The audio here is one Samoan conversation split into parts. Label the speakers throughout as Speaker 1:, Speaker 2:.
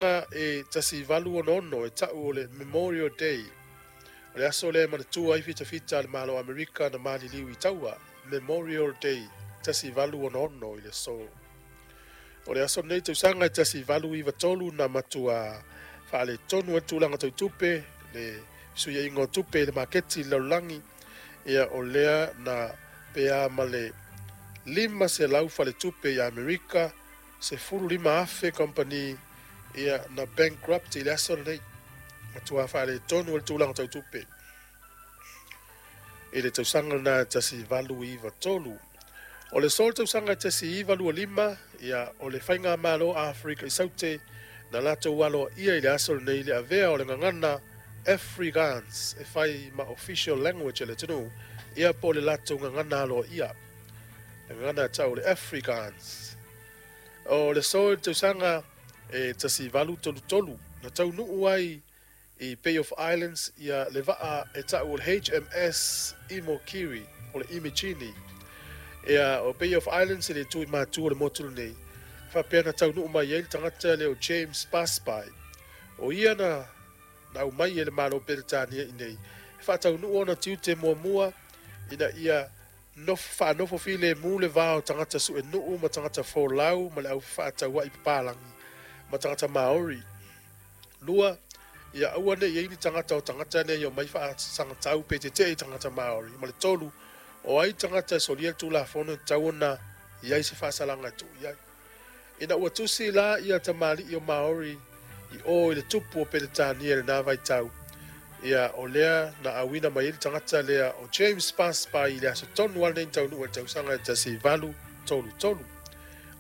Speaker 1: E 1866 e ta'u o le Memorial Day, o le aso lea e manatua ai fitafita a le Malo o Amerika na maliliu i taua. Memorial Day 1866 i le aso. O le aso lenei tausaga e 1893 na matua faaletonu ai le tulaga tau tupe, le fesuiaiga o tupe i le maketi i le lalolagi. Ia o lea na pea ma le 500 faletupe i Amerika, 15,000 kamupani ia na bankrupt i le aso lenei. Matua faaletonu ai le tulaga tau tupe i le tausaga lena 1893. O le aso le tausaga 1925, ia o le Faigamalo Afrika i Saute na latou aloaia i le aso lenei le avea o le gagana Afrikaans e fai ma official language a le atunuu, ia po o le latou gagana aloaia, le gagana e ta'u o le Afrikaans. O le aso i le tausaga e 1833 na taunuu ai i Bay of Islands ia le vaa e ta'u o le HMS Imokiri o le Imijini. Ia o Bay of Islands e le itu i matu o le motu lenei, faapea na taunuu mai ai le tagata lea o James Busby. O ia na aumai e le Malo Peretania i nei e faataunuu ona tiute muamua ina ia faanofo filemu le va o tagata suenuu ma tagata folau ma le au fefaatauai papalagi ma tagata Maori. Lua, ia aua ne i ai ni tagata o tagata nei o mai faasagatau pe tetee i tagata Maori. Ma le tolu, o ai tagata e solia le tulafono e tatau ona i ai se faasalaga e tuu i ai. Ina ua tusi la ia tamalii o Maori i o i le tupu o Peretania i lena vaitau, ia o lea na auina mai ai le tagata lea o James Busby i le aso tonu lava lenei na taunuu ai i le tausaga e 1833.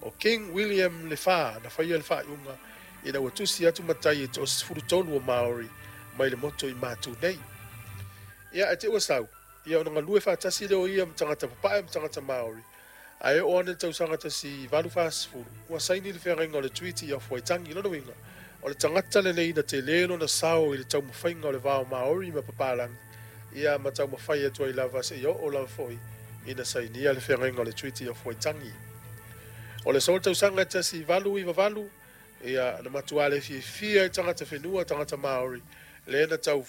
Speaker 1: O King William le Fa na faia le faaiuga ina ua tusi atu matai e toa-13 o Maori mai le motu i Matu nei. Ia ae te i ua sau, ia ona galue faatasi lea o ia ma tagata papae ma tagata Maori, ae oo ane i le tausaga 1840, ua saini le feagaiga o le Treaty of Waitangi. Lona uiga, o le tagata lenei na tele lona sao i le taumafaiga o le va o Maori ma papalagi, ia ma taumafai atu ai lava seia oo lava foi ina sainia le feagaiga o le Treaty of Waitangi. O le aso o le tausaga e 1898, ia na matua le fiafia ai tagata whenua, tagata Maori, lea na tau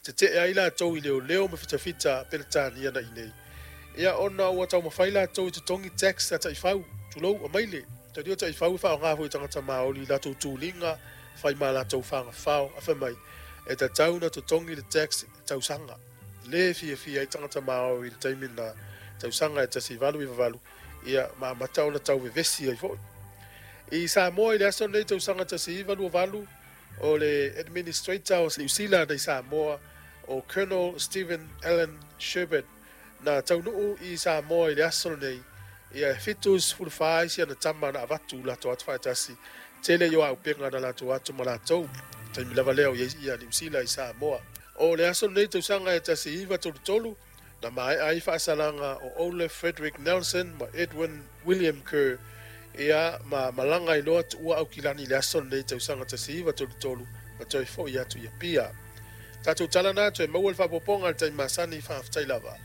Speaker 1: tetee ai latou i leoleo ma fitafita Peretania na i nei. Ia ona ua taumafai latou i totogi tax a taifau, tulou, amaile. Tautia taifau e faaaoga foi e tagata Maori i latou tuliga, fai ma latou fagafao, ae fai mai, e tatau ona totogi le tax i tausaga. Le fiafia ai tagata Maori i le taimi na tausaga e 1898, ia ma amata ona tau vevesi ai foi. I Samoa i le aso lenei tausaga 1928, o le Administrator o Niu Sila i Samoa o Colonel Stephen Allan Shepherd na taunuu i Samoa i le aso lenei, ia e 74 isi ana tama na avatu latou atu faatasi, tele i o auupega na latou atu ma latou taimi lava lea o i ai ia Niu Sila i Samoa. O le aso lenei tausaga e 1933 na maea ai faasalaga o Olaf Frederick Nelson ma Edwin William Kerr, ia ma malaga ai loa tuua Aukilani i le aso lenei tausaga 1933 ma toe foi atu i Apia. Tatou tala na toe maua le faaopoopoga i le taimi masani, faafetai lava.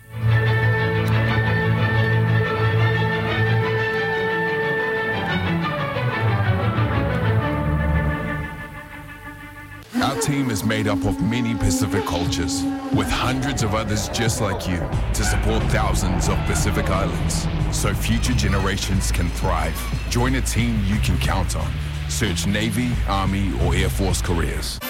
Speaker 2: Our team is made up of many Pacific cultures, with hundreds of others just like you to support thousands of Pacific Islands so future generations can thrive. Join a team you can count on. Search Navy, Army, or Air Force careers.